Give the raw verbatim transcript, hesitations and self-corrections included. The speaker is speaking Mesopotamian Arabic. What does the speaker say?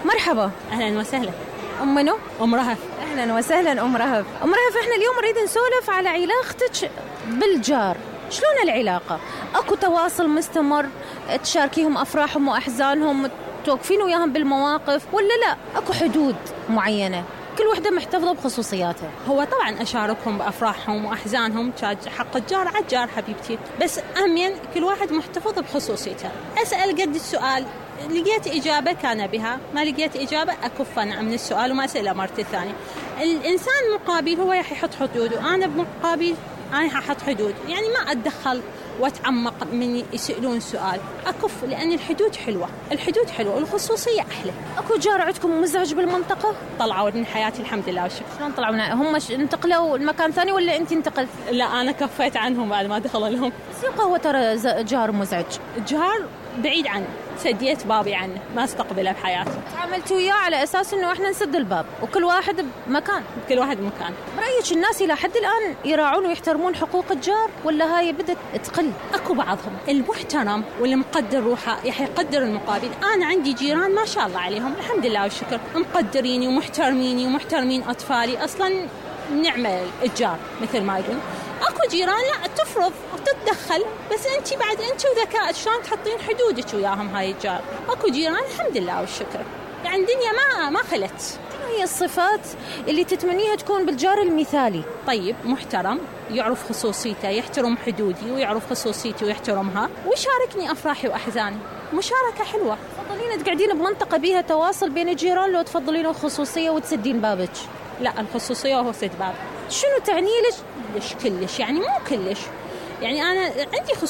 مرحبا. أهلا وسهلا. أم منو؟ أم رهف. أهلا وسهلا أم رهف. أم رهف إحنا اليوم نريد نسولف على علاقتك بالجار. شلون العلاقة؟ أكو تواصل مستمر تشاركيهم أفراحهم وأحزانهم، توقفين وياهم بالمواقف، ولا لا أكو حدود معينة كل وحدة محتفظة بخصوصياتها؟ هو طبعا أشاركهم بأفراحهم وأحزانهم، حق الجار على الجار حبيبتي، بس أمين كل واحد محتفظ بخصوصيته. أسأل قد السؤال، لقيت إجابة كان بها، ما لقيت إجابة أكف أنا من السؤال وما أسأله مرة ثانية. الإنسان المقابل هو راح يحط حدود، وأنا بمقابل أنا ححط حدود، يعني ما أتدخل وأتعمق من يسألون سؤال، أكف، لأن الحدود حلوة، الحدود حلوة والخصوصية أحلى. أكو جار عندكم مزعج بالمنطقة؟ طلعوا من حياتي الحمد لله والشكر. شلون طلعوا؟ هم انتقلوا المكان ثاني ولا أنت انتقلت؟ لا أنا كفيت عنهم بعد ما دخلوا لهم. سيقة هو ترى جار مزعج. جار بعيد عنه، سديت بابي عنه، ما استقبله بحياتي. تعاملت وياه على أساس إنه إحنا نسد الباب وكل واحد بمكان. كل واحد بمكان. برأيك الناس إلى حد الآن يراعون ويحترمون حقوق الجار ولا هاي بدت تقل؟ أكو بعضهم المحترم واللي مقدر روحه يح يقدر المقابل. أنا عندي جيران ما شاء الله عليهم الحمد لله والشكر، مقدريني ومحترميني ومحترمين أطفالي، أصلا نعمة الجار مثل ما يقول. أكو جيران لا تفرض وتتدخل، بس أنت بعد أنت وذكاء شلون تحطين حدودك وياهم هاي الجار. أكو جيران الحمد لله والشكر، يعني الدنيا ما ما خلت. شنو هي الصفات اللي تتمنيها تكون بالجار المثالي؟ طيب، محترم، يعرف خصوصيته، يحترم حدودي ويعرف خصوصيتي ويحترمها، ويشاركني أفراحي وأحزاني. مشاركة حلوة. تفضلين تقعدين بمنطقة بيها تواصل بين الجيران لو تفضلين الخصوصية وتسدين بابك؟ لا، الخصوصية وهو سد باب. شنو تعني لك؟ كلش كلش، يعني مو كلش، يعني أنا عندي خصوصية